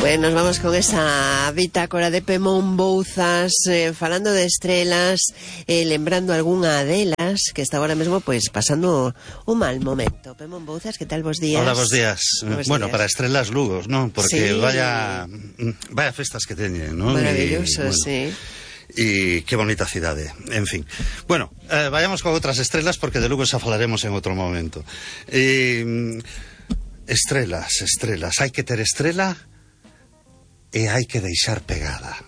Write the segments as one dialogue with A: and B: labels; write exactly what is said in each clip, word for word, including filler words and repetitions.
A: Bueno, nos vamos con esa bitácora de Pemón Bouzas, eh, falando de estrelas, eh, lembrando algunha delas que está ahora mesmo pois pasando un mal momento. Pemón Bouzas, que tal vos días?
B: Hola, vos días.
A: Bos
B: bueno,
A: días.
B: Para estrelas Lugos, non? Porque
A: sí.
B: vaya vaya festas que teñen, non?
A: Maravilloso,
B: bueno.
A: sí.
B: E que bonita cidade, en fin. Bueno, eh, vayamos con outras estrelas porque de Lugo xa falaremos en outro momento. Eh, estrelas, estrelas, hai que ter estrela e hai que deixar pegada.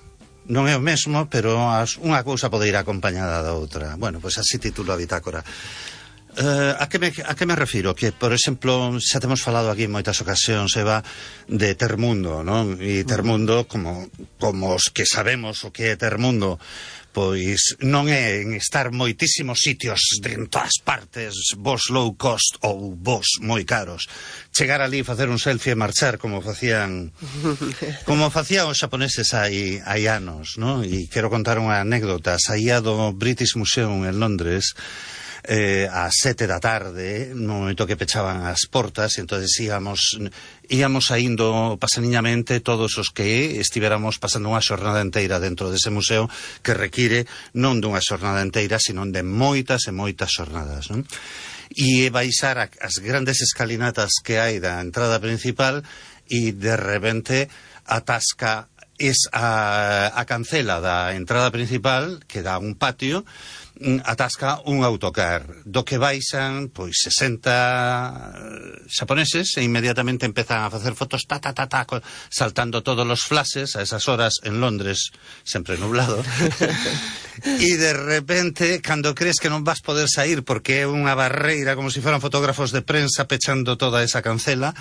B: Non é o mesmo, pero as, unha cousa pode ir acompañada da outra. Bueno, pois así titulo a bitácora. Uh, a, que me, a que me refiro? Que, por exemplo, xa temos falado aquí en moitas ocasións, Eva, de Termundo, non? E Termundo, como, como os que sabemos o que é Termundo, pois non é en estar moitísimos sitios de en todas partes, vos low cost ou vos moi caros. Chegar ali, facer un selfie e marchar como facían como facían os xaponeses hai, hai anos, non? E quero contar unha anécdota. Saía do British Museum en Londres eh, a sete da tarde, no momento que pechaban as portas, e entonces íamos íamos saindo pasaniñamente todos os que estiveramos pasando unha xornada inteira dentro dese museo, que require non dunha xornada inteira, sino de moitas e moitas xornadas, non? E baixar as grandes escalinatas que hai da entrada principal e de repente atasca es a, a cancela da entrada principal, que dá un patio, atasca un autocar do que baixan pois sesenta xaponeses e inmediatamente empezan a facer fotos ta ta ta ta saltando todos os flashes a esas horas en Londres, sempre nublado. E de repente, cando crees que non vas poder sair porque é unha barreira como se si fueran fotógrafos de prensa pechando toda esa cancela,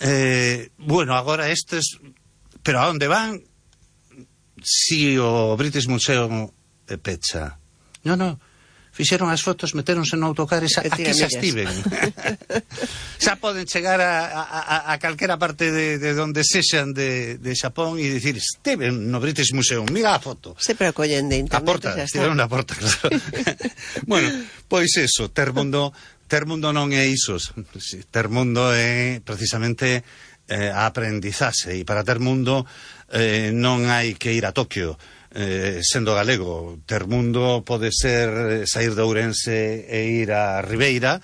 B: eh, bueno, agora estes, pero a onde van si o British Museum pecha? No, no, fixeron as fotos, meteronse no autocar e xa, aquí xa estiven. Xa poden chegar a, a, a calquera parte de, de donde sexan de, de Xapón e dicir, estiven no British Museum, mira a foto.
A: Se precollen de internet.
B: A porta, estiveron na porta, claro. Bueno, pois eso, Termundo, Termundo non é iso. Termundo é precisamente eh, a aprendizaxe, e para Termundo eh, non hai que ir a Tokio. Eh, sendo galego, Termundo pode ser sair de Ourense e ir a Ribeira,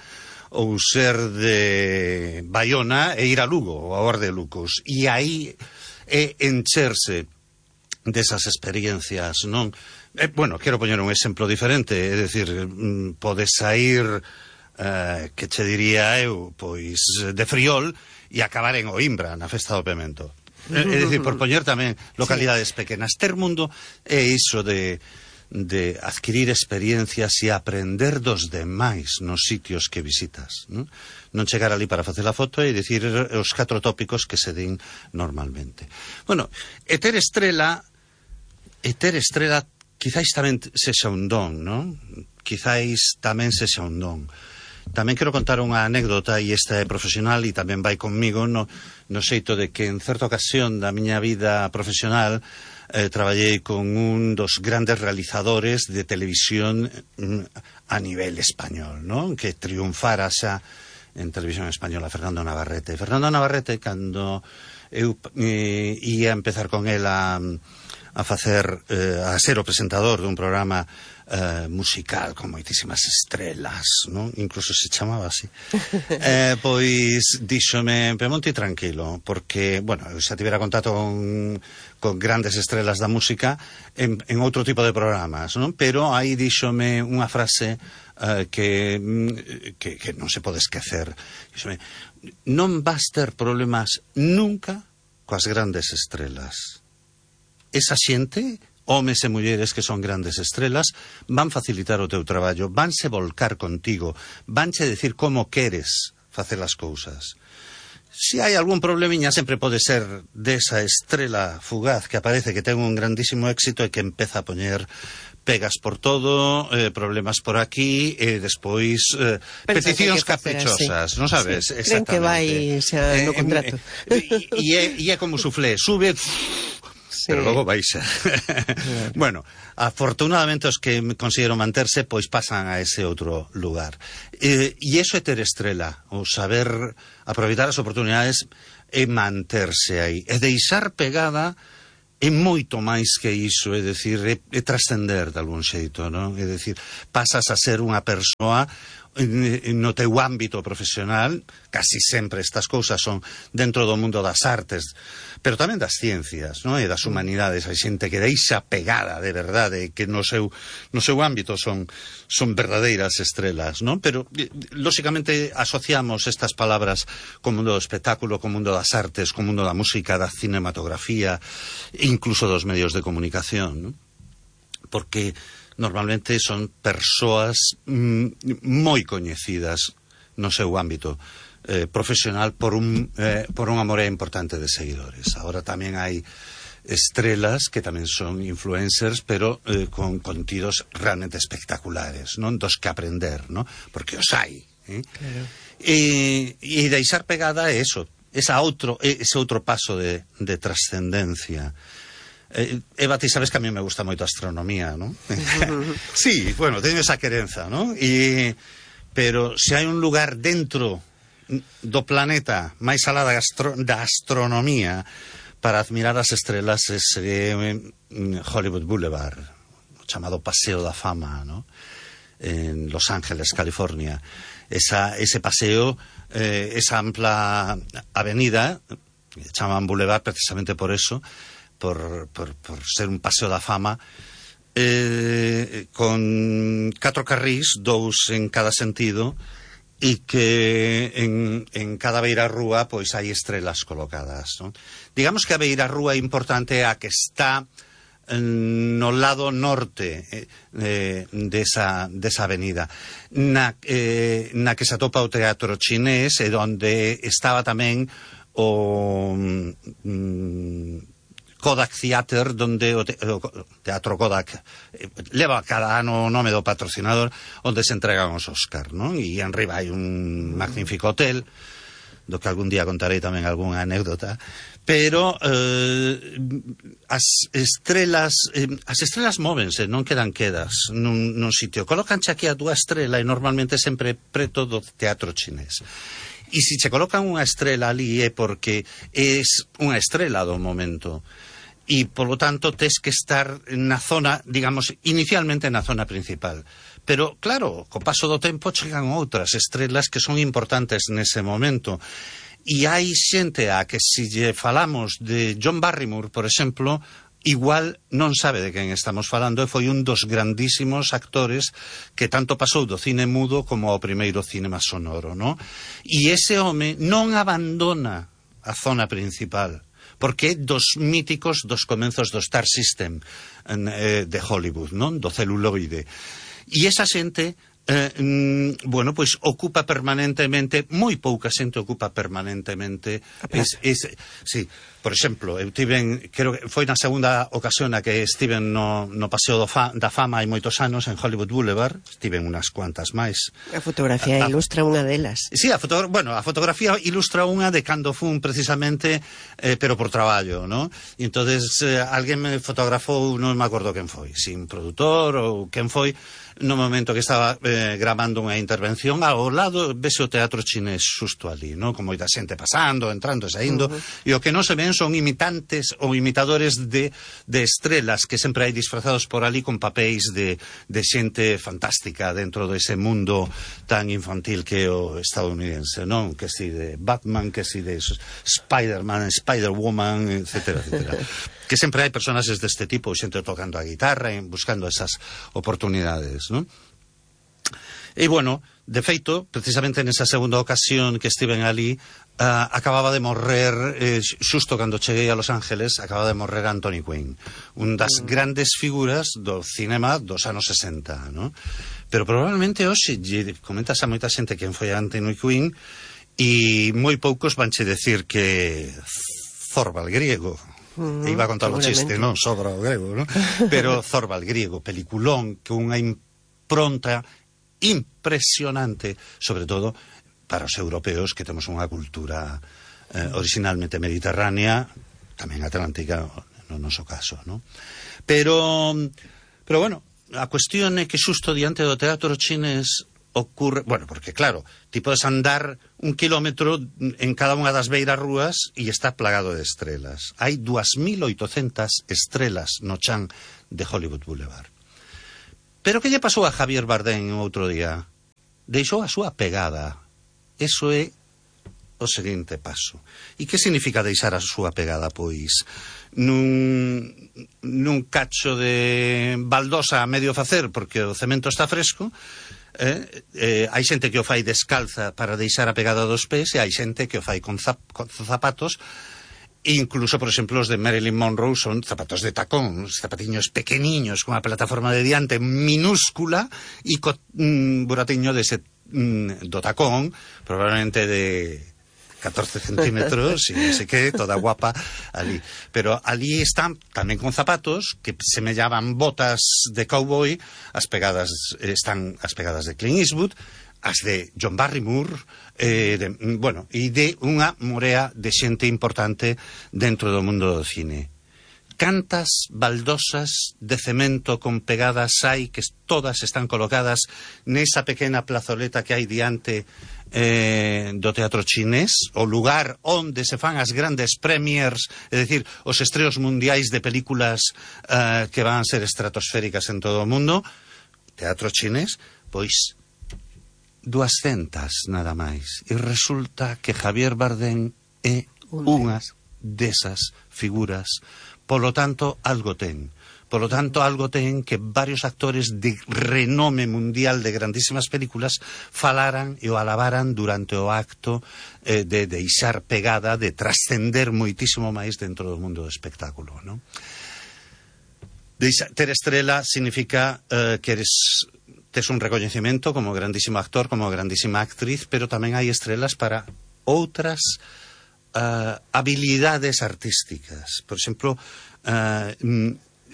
B: ou ser de Baiona e ir a Lugo, ou a Orde de Lucos, e aí é encherse desas experiencias, non? Eh, bueno, quero poñer un exemplo diferente, é dicir, mm, pode sair eh, que che diría eu, pois de Friol e acabar en Oimbra, na festa do Pemento. É dicir, por poñer tamén localidades sí. pequenas. Termundo é iso de, de adquirir experiencias e aprender dos demais nos sitios que visitas, non? Non chegar ali para facer a foto e dicir os catro tópicos que se din normalmente. Bueno, e ter estrela e ter estrela quizáis tamén sexa un don, non? Quizáis tamén sexa un don. Tamén quero contar unha anécdota, e esta é profesional e tamén vai conmigo no, no xeito de que en certa ocasión da miña vida profesional eh, traballei con un dos grandes realizadores de televisión mm, a nivel español, non? Que triunfara xa en televisión española, Fernando Navarrete. Fernando Navarrete, cando eu eh, ia empezar con el a, a facer, eh, a ser o presentador dun programa Uh, musical con moitísimas estrelas, non? Incluso se chamaba así. eh, pois díxome, Pemonti, tranquilo, porque, bueno, eu xa tivera contacto con, con grandes estrelas da música en, en outro tipo de programas, non? Pero aí díxome unha frase uh, que, que, que non se pode esquecer. Díxome, non vas ter problemas nunca coas grandes estrelas. Esa xente, homes e mulleres que son grandes estrelas, van facilitar o teu traballo, vanse volcar contigo, vanche decir como queres facer as cousas. Si hai algún problemiña, sempre pode ser desa estrela fugaz que aparece, que ten un grandísimo éxito e que empeza a poñer pegas por todo, eh, problemas por aquí, e despois eh, peticións caprichosas, non sabes?
A: Sí. Creen que vai xa no contrato.
B: E eh, eh, é como suflé, sube... Sí. Pero logo baixa. Claro. Bueno, afortunadamente os que consiguieron manterse pois pasan a ese outro lugar. E, e iso é ter estrela, o saber aproveitar as oportunidades é manterse aí, é deixar pegada é moito máis que iso, é dicir, é, é trascender de algún xeito, non? É dicir, pasas a ser unha persoa no teu ámbito profesional, casi sempre estas cousas son dentro do mundo das artes, pero tamén das ciencias, non? E das humanidades. Hai xente que deixa pegada de verdade, que no seu, no seu ámbito son, son verdadeiras estrelas, non? Pero, lóxicamente, asociamos estas palabras co mundo do espectáculo, co mundo das artes, co mundo da música, da cinematografía, incluso dos medios de comunicación, non? Porque normalmente son persoas mm, moi coñecidas no seu ámbito eh, profesional por un, eh, por unha morea importante de seguidores. Agora tamén hai estrelas que tamén son influencers, pero eh, con contidos realmente espectaculares, non? Dos que aprender, non? Porque os hai. Eh?
A: Claro.
B: E, e deixar pegada é eso, esa outro, ese outro paso de, de trascendencia. Eh, Eva, ti sabes que a mí me gusta moito a astronomía, ¿no? Sí, bueno, teño esa querenza, ¿no? E, pero se hai un lugar dentro do planeta máis alá da, astro, da astronomía para admirar as estrelas, sería Hollywood Boulevard, o chamado Paseo da Fama, ¿no? En Los Ángeles, California. Esa, ese paseo, eh, esa ampla avenida, chaman Boulevard precisamente por eso, Por, por, por ser un paseo da fama, eh, con catro carrís, dous en cada sentido, e que en, en cada beirarrúa pois hai estrelas colocadas, non? Digamos que a beirarrúa importante é a que está no lado norte eh, desa, desa avenida, na, eh, na que se atopa o Teatro Chinés, e onde estaba tamén o... Mm, Kodak Theater, donde o, te, o Teatro Kodak eh, leva cada ano o nome do patrocinador, onde se entregan os Óscar, non? E enriba hai un magnífico hotel, do que algún día contarei tamén algunha anécdota, pero eh, as estrelas eh, as estrelas móvense, non quedan quedas nun, nun sitio, colocanche aquí a túa estrela e normalmente sempre preto do Teatro Chinés. E se che colocan unha estrela ali é porque é unha estrela do momento. E, polo tanto, tes que estar na zona, digamos, inicialmente na zona principal. Pero, claro, co paso do tempo chegan outras estrelas que son importantes nese momento. E hai xente a que, se lle falamos de John Barrymore, por exemplo, igual non sabe de quen estamos falando, e foi un dos grandísimos actores que tanto pasou do cine mudo como ao primeiro cinema sonoro, non? E ese home non abandona a zona principal, porque é dos míticos dos comenzos do Star System eh, de Hollywood, non? Do celuloide. E esa xente, eh, mm, bueno, pois ocupa permanentemente, moi pouca xente ocupa permanentemente, es, es, sí, por exemplo, eu tiven, creo que foi na segunda ocasión a que estiven no, no Paseo do fa, da Fama hai moitos anos en Hollywood Boulevard, estiven unas cuantas máis.
A: A fotografía a, a, ilustra unha delas.
B: Sí, a, foto, bueno, a fotografía ilustra unha de cando fun precisamente, eh, pero por traballo, ¿no? E entonces eh, alguén me fotografou, non me acordo quen foi, si un produtor ou quen foi, no momento que estaba eh, grabando unha intervención, ao lado vese o Teatro Chinés xusto ali, ¿no? Con moita xente pasando, entrando e saindo, uh-huh. E o que non se ven son imitantes ou imitadores de, de estrelas que sempre hai disfrazados por ali con papéis de, de xente fantástica dentro dese mundo tan infantil que é o estadounidense, non? Que si de Batman, que si de Spider-Man, Spider-Woman, etcétera, etcétera. Que sempre hai personaxes deste tipo, xente tocando a guitarra e buscando esas oportunidades, non? E, bueno, de feito, precisamente nesa segunda ocasión que estiven ali, uh, acababa de morrer, eh, xusto cando cheguei a Los Ángeles, acababa de morrer Anthony Quinn, un das mm. grandes figuras do cinema dos anos sesenta, non? Pero probablemente hoxe, comentas a moita xente quen foi Anthony Quinn, e moi poucos vanche decir que Zorba el griego. Mm, e iba a contar o chiste, non? Sobra o grego, non? Pero Zorba el griego, peliculón, que unha impronta impresionante, sobre todo para os europeos que temos unha cultura eh, originalmente mediterránea, tamén atlántica no noso caso, non? Pero, pero bueno, a cuestión é que xusto diante do Teatro Chinés ocurre... Bueno, porque claro, ti podes andar un kilómetro en cada unha das beiras rúas e está plagado de estrelas. Hai dúas mil oitocentas estrelas no chan de Hollywood Boulevard. Pero que lle pasou a Javier Bardem outro día? Deixou a súa pegada. Eso é o seguinte paso. E que significa deixar a súa pegada? Pois nun, nun cacho de baldosa a medio facer porque o cemento está fresco. Eh, eh, hai xente que o fai descalza para deixar a pegada dos pés e hai xente que o fai con, zap, con zapatos. Incluso, por exemplo, os de Marilyn Monroe son zapatos de tacón, zapatiños pequeniños con a plataforma de diante minúscula e co mm, buratiño dese, mm, do tacón, probablemente de catorce centímetros, y no sé qué, toda guapa ali. Pero ali están tamén con zapatos que semellaban botas de cowboy, as pegadas están as pegadas de Clint Eastwood, as de John Barrymore, eh, de, bueno, e de unha morea de xente importante dentro do mundo do cine. Cantas baldosas de cemento con pegadas hai que todas están colocadas nesa pequena plazoleta que hai diante eh, do Teatro Chinés, o lugar onde se fan as grandes premiers, é dicir, os estreos mundiais de películas eh, que van ser estratosféricas en todo o mundo. Teatro Chinés, pois duascentas nada máis. E resulta que Javier Bardem é unha desas figuras. Polo tanto, algo ten. Polo tanto, algo ten que varios actores de renome mundial de grandísimas películas falaran e o alabaran durante o acto eh, de deixar pegada, de trascender moitísimo máis dentro do mundo do espectáculo, non? Deixa, ter estrela significa eh, que eres... tes un recoñecemento como grandísimo actor, como grandísima actriz, pero tamén hai estrelas para outras uh, habilidades artísticas. Por exemplo, uh,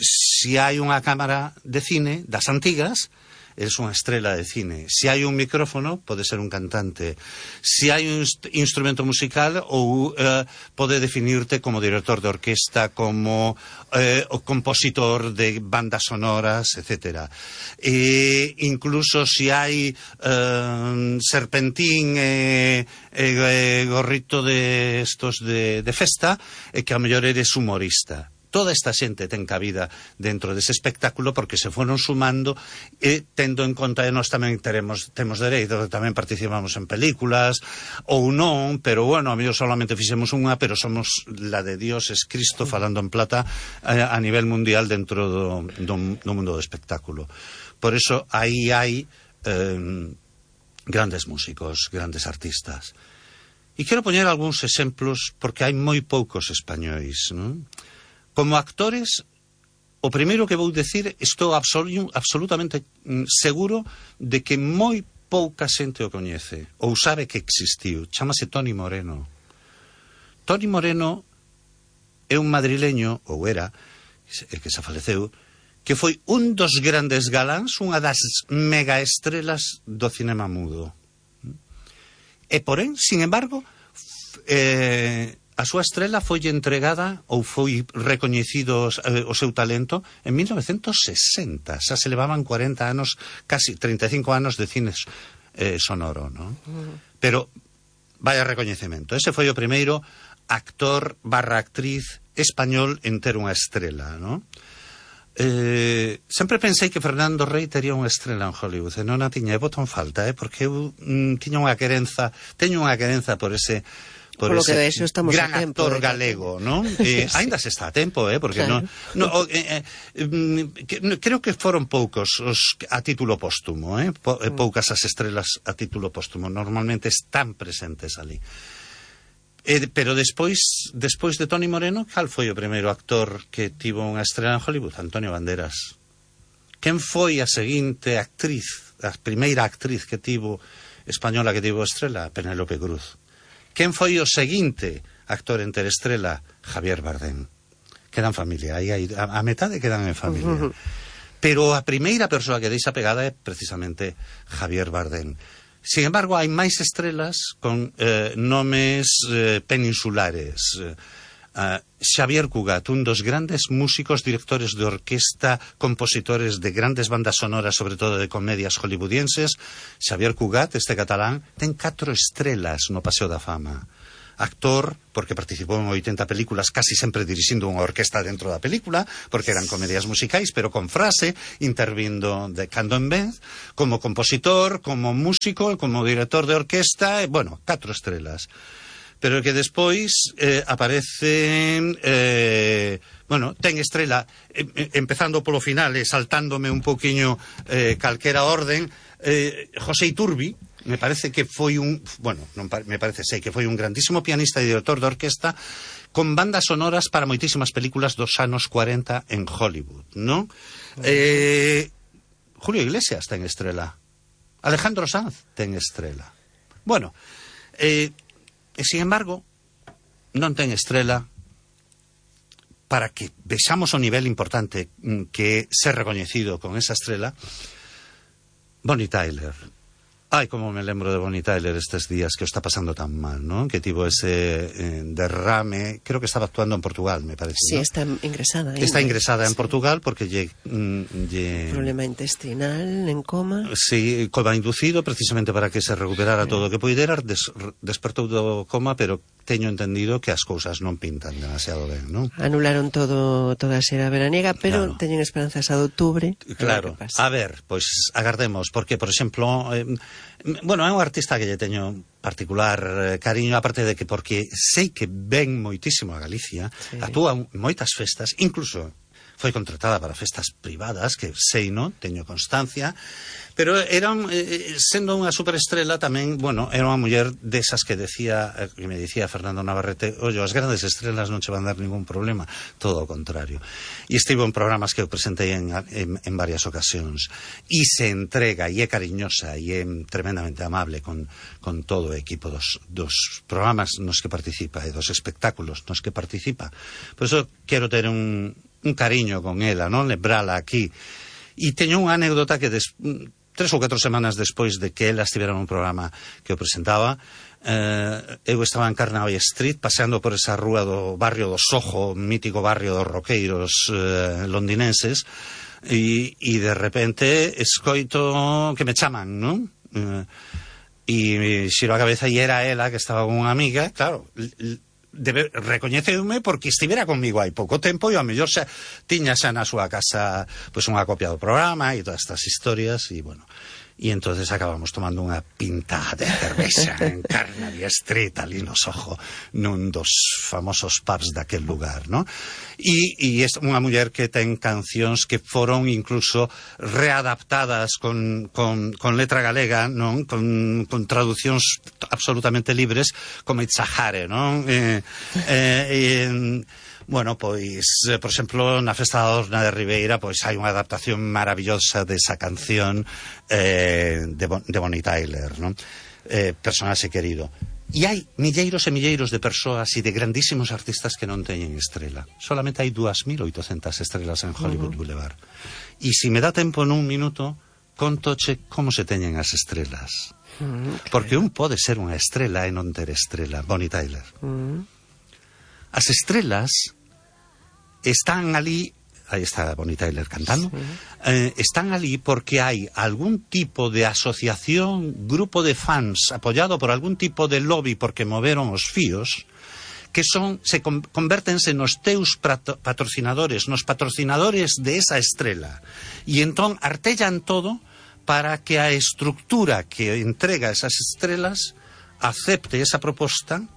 B: si hai unha cámara de cine das antigas, eres unha estrela de cine. Si hai un micrófono, pode ser un cantante. Si hai un inst instrumento musical, ou uh, pode definirte como director de orquesta, como uh, o compositor de bandas sonoras, etcétera. E incluso si hai uh, serpentín e, e, e gorrito de estos de, de festa, e que a mellor eres humorista. Toda esta xente ten cabida dentro dese espectáculo porque se foron sumando e tendo en conta que nós tamén teremos, temos dereito, tamén participamos en películas ou non, pero bueno, a mellor solamente fixemos unha, pero somos la de Dios es Cristo falando en plata a, a nivel mundial dentro do, do, do mundo do espectáculo. Por eso aí hai eh, grandes músicos, grandes artistas. E quero poñer algúns exemplos porque hai moi poucos españois, non? Como actores, o primeiro que vou decir, estou absolu absolutamente seguro de que moi pouca xente o coñece ou sabe que existiu. Chámase Toni Moreno. Toni Moreno é un madrileño, ou era, que se faleceu, que foi un dos grandes galáns, unha das megaestrelas do cinema mudo. E porén, sin embargo, eh, a súa estrela foi entregada ou foi recoñecido eh, o seu talento en mil novecentos sesenta. Xa se levaban cuarenta anos, casi treinta e cinco anos de cine eh, sonoro, non? Uh-huh. Pero vaya recoñecemento. Ese foi o primeiro actor barra actriz español en ter unha estrela, non? Eh, sempre pensei que Fernando Rey tería unha estrela en Hollywood e non a tiña, e boto en falta, eh, porque eu mm, tiña unha querenza, teño unha querenza por ese por, por ese de eso estamos gran a tempo, actor eh, galego, non? Eh, sí. Ainda se está a tempo, eh, porque claro. no, no eh, eh, que, creo que foron poucos os a título póstumo, eh, po, eh, poucas as estrelas a título póstumo, normalmente están presentes ali. Eh, pero despois, despois de Toni Moreno, cal foi o primeiro actor que tivo unha estrela en Hollywood? Antonio Banderas. Quen foi a seguinte actriz, a primeira actriz que tivo española que tivo estrela? Penélope Cruz. Quen foi o seguinte actor en ter estrela? Javier Bardem. Quedan familia, aí, aí, a, a metade quedan en familia. Uh-huh. Pero a primeira persoa que deixa pegada é precisamente Javier Bardem. Sin embargo, hai máis estrelas con eh, nomes eh, peninsulares. Uh, Xavier Cugat, un dos grandes músicos, directores de orquesta, compositores de grandes bandas sonoras, sobre todo de comedias hollywoodienses. Xavier Cugat, este catalán, ten catro estrelas no Paseo da Fama. Actor, porque participou en oitenta películas, casi sempre dirixindo unha orquesta dentro da película, porque eran comedias musicais, pero con frase, intervindo de cando en vez, como compositor, como músico, como director de orquesta, e, bueno, catro estrelas. Pero que despois eh, aparece, eh, bueno, ten estrela, eh, empezando polo final e saltándome un poquinho eh, calquera orden, eh, José Iturbi, me parece que foi un, bueno, non me parece, sei que foi un grandísimo pianista e director de orquesta, con bandas sonoras para moitísimas películas dos anos cuarenta en Hollywood, non? Eh, Julio Iglesias ten estrela, Alejandro Sanz ten estrela. Bueno, eh, e, sin embargo, non ten estrela para que vexamos o nivel importante que ser recoñecido con esa estrela Bonnie Tyler. Ai, como me lembro de Bonnie Tyler estes días, que o está pasando tan mal, ¿no? Que tivo ese eh, derrame, creo que estaba actuando en Portugal, me parece,
A: Sí, ¿no? Está ingresada.
B: Está ingresada en
A: sí.
B: Portugal porque lle, lle...
A: Problema intestinal, en coma.
B: Sí, coma inducido, precisamente para que se recuperara sí. todo o que poidera, des, despertou do coma, pero teño entendido que as cousas non pintan demasiado ben, non?
A: Anularon todo, toda a xera veraniega, pero claro. teñen esperanzas a de outubro.
B: Claro, a ver, a ver, pois agardemos, porque, por exemplo, eh, bueno, é un artista que lle teño particular eh, cariño, aparte de que porque sei que ven moitísimo a Galicia, sí. actúa moitas festas, incluso foi contratada para festas privadas, que sei, non, teño constancia, pero era, eh, sendo unha superestrela tamén, bueno, era unha muller desas que decía, eh, que me dicía Fernando Navarrete, ollo, as grandes estrelas non che van dar ningún problema, todo o contrario. E estivo en programas que eu presentei en, en, en varias ocasións, e se entrega, e é cariñosa, e é tremendamente amable con, con todo o equipo dos, dos programas nos que participa, e dos espectáculos nos que participa. Por iso quero ter un un cariño con ela, non? Lembrala aquí. E teño unha anécdota que des, tres ou catro semanas despois de que ela estivera nun programa que eu presentaba, eh, eu estaba en Carnaby Street paseando por esa rúa do barrio do Soho, mítico barrio dos roqueiros eh, londinenses, e, e de repente escoito que me chaman, non? Eh, e xiro a cabeza e era ela que estaba con unha amiga, claro, debe, recoñeceume porque estivera conmigo hai pouco tempo e ao mellor xa tiña xa na súa casa pois unha copia do programa e todas estas historias e bueno, e entonces acabamos tomando unha pinta de cervexa en Carnaby Street ali no Soho, nun dos famosos pubs daquel lugar, ¿no? E, e é unha muller que ten cancións que foron incluso readaptadas con, con, con letra galega, non? Con, con traducións absolutamente libres, como Itzahare, non? Eh, eh, eh, Bueno, pois, eh, por exemplo, na Festa da Orna de Ribeira, pois hai unha adaptación maravillosa desa canción eh, de, bon, de Bonnie Tyler, non? Eh, personaxe querido. E hai milleiros e milleiros de persoas e de grandísimos artistas que non teñen estrela. Solamente hai dúas mil oitocentas estrelas en Hollywood uh-huh. Boulevard. E se me dá tempo nun minuto, contoche como se teñen as estrelas. Uh-huh, claro. Porque un pode ser unha estrela e non ter estrela. Bonnie Tyler. Uh-huh. As estrelas están ali, aí está Bonnie Tyler cantando, sí. eh, están ali porque hai algún tipo de asociación, grupo de fans apoyado por algún tipo de lobby porque moveron os fíos, que son, se con, convértense nos teus prato, patrocinadores, nos patrocinadores de esa estrela. E entón artellan todo para que a estructura que entrega esas estrelas acepte esa proposta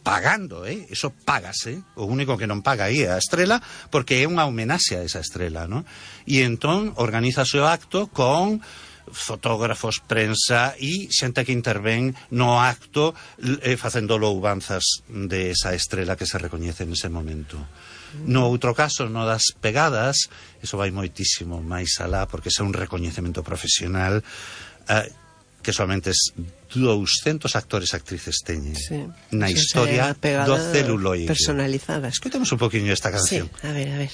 B: pagando, eh? Eso págase, o único que non paga aí é a estrela, porque é unha homenaxe a esa estrela, ¿no? E entón organízase o acto con fotógrafos, prensa e xente que intervén no acto eh, facendo louvanzas de esa estrela que se recoñece en ese momento. No outro caso, no das pegadas, eso vai moitísimo máis alá, porque é un recoñecemento profesional eh, que solamente es douscentos actores e actrices teñen sí, na historia do celuloide.
A: Personalizada.
B: Escoitemos un poquinho esta canción.
A: Sí, a ver, a ver.